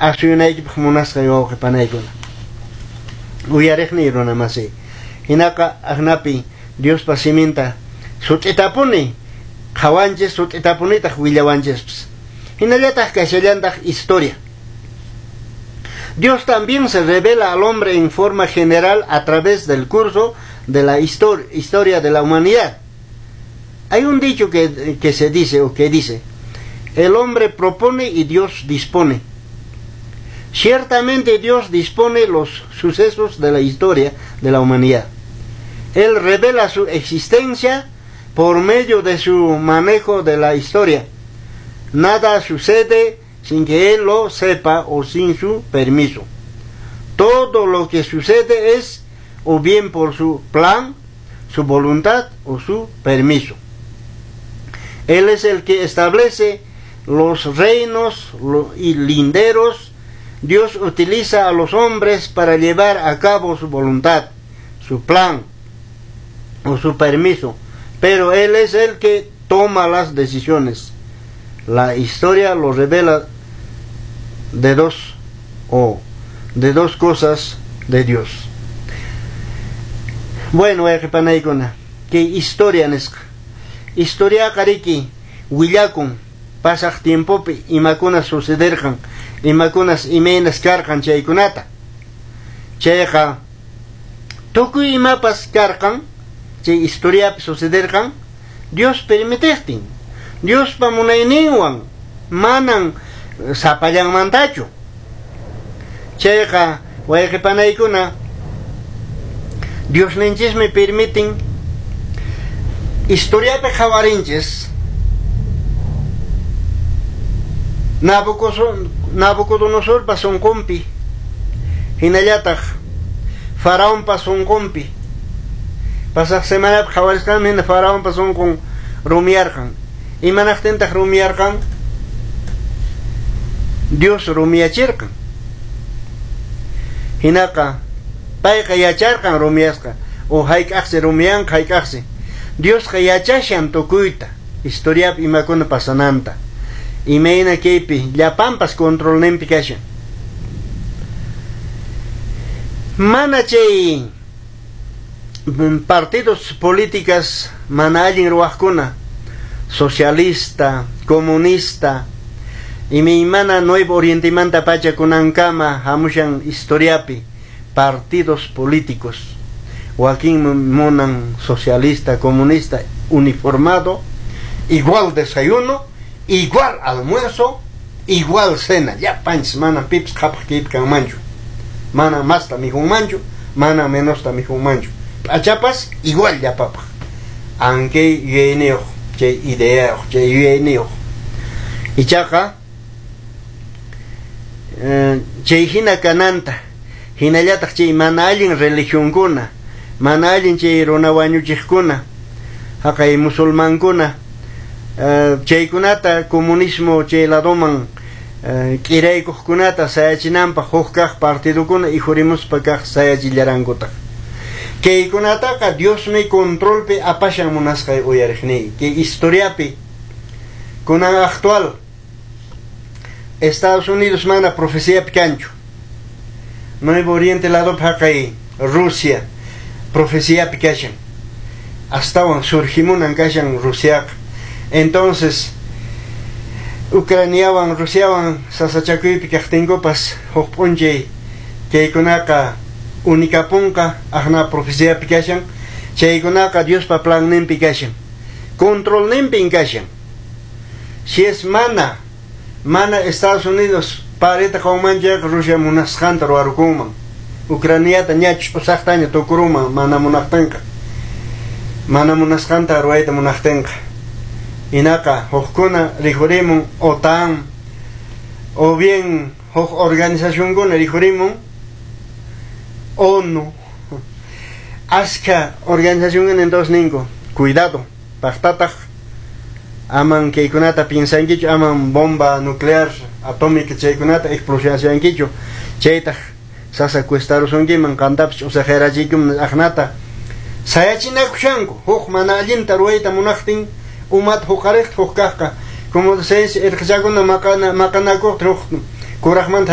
Asuyunaykipaq munasqay wawqi panaykuna. Uyariqniy runa masiy. Hinaqa aqnapi Diospa siminta sut'itapuni qhawanchis, sut'itapunitaq willawanchispas. Hinallataq kashallantaq historia. Dios también se revela al hombre en forma general a través del curso de la historia de la humanidad. Hay un dicho que se dice o que dice: el hombre propone y Dios dispone. Ciertamente Dios dispone los sucesos de la historia de la humanidad. Él revela su existencia por medio de su manejo de la historia. Nada sucede sin que Él lo sepa o sin su permiso. Todo lo que sucede es o bien por su plan, su voluntad o su permiso. Él es el que establece los reinos y linderos. Dios utiliza a los hombres para llevar a cabo su voluntad, su plan o su permiso, pero Él es el que toma las decisiones. La historia lo revela de dos o de dos cosas de Dios. Bueno, panaykuna, kay historia nisqa. Historia qariki willakun pasaq tiempopi imakuna sucederqan, imakunas imaynas karqan chaykunata. Chayqa tukuy imapas karqan, chay historiapi sucederqan, Dios permitiqtin. Diospa munayninwan manan sapallanmantachu. Chayqa wayqi panaykuna, Diosninchismi permitin. Historiapi qhawarinchis Nabucodonosorpa sunqunpi, hinallataq Faraonpa sunqunpi. Pasaq semanapi qhawarisqanmi hina Faraonpa sunqun rumiyarqan. Imanaqtintaq rumiyarqan? Dios rumiyachirqan. Hinaqa payqa yacharqan rumiyasqa o hayk'aqsi rumiyanqa, hayk'aqsi. Diosqa yachashan tukuyta historiapi imakuna pasananta. Imayna kaypi llapanpas controlninpi kashan. Mana chay partidos políticas mana allin ruwaqkuna, socialista, comunista, imaymana Nuevo Orientemanta pacha kunankama hamushan historiapi partidos políticos. Wakin munan socialista, comunista, uniformado, igual desayuno, igual almuerzo, igual cena. Llapanchis mana pipas qhapaq kaypi kanmanchu. Mana masta mikhunmanchu, mana menosta mikhunmanchu. P'achapas igual llapapaq. Ankay yuyayniyuq, chay ideayuq, chay yuyayniyuq. Ichaqa chay hina kananta, hinallataq chay mana allin religionkuna, mana allin chay runa wañuchiqkuna, haqay musulmankuna, chaykunata comunismo chay ladoman k'iraykuqkunata sayachinanpaq huk kaq partidukuna ikhurimuspa kaq sayachillaраnkutaq. Kaykunataqa Diosmi controlpi apashan, munasqay uyariqniy. Kay historiapi kunan actual Estados Unidos mana profeciapi kanchu. Nuevo Oriente ladopi haqay Rusia profeciapi kashan. Astawan surgimunan kashan Rusiaqa. Entonces Ucraniawan Rusiawan sasachakuypi kaqtinkupas huk p'unchay kaykunaqa unikapunqa, aqna profeciapi kashan. Chaykunaqa Diospa planninpi kashan, controlninpin kashan. Si es mana Estados Unidos pareta qawman chayqa Rusia munasqanta ruwarukunman. Ucraniata ña ch'usaqtaña tukurunman mana munaqtinqa. Mana munasqanta ruwayta munaqtinqa. Hinaqa hukkuna rikhurimun OTAN o bien huk organizacionkuna rikhurimun ONU. Aska organización entonces ninko, cuidado, paqtataq aman kaykunata piensankichu, aman bomba nuclear atómica chaykunata explosionankichu, chaytaq sasa cuestarusunkiman qantapas ch'usaqyarachiykuman aqnata sayachinakushanku huk mana allinta ruwayta munaqtin umata huqariqta huk kaqqa, como se dice, irqichakuna maqanakuqta huk kuraqmanta.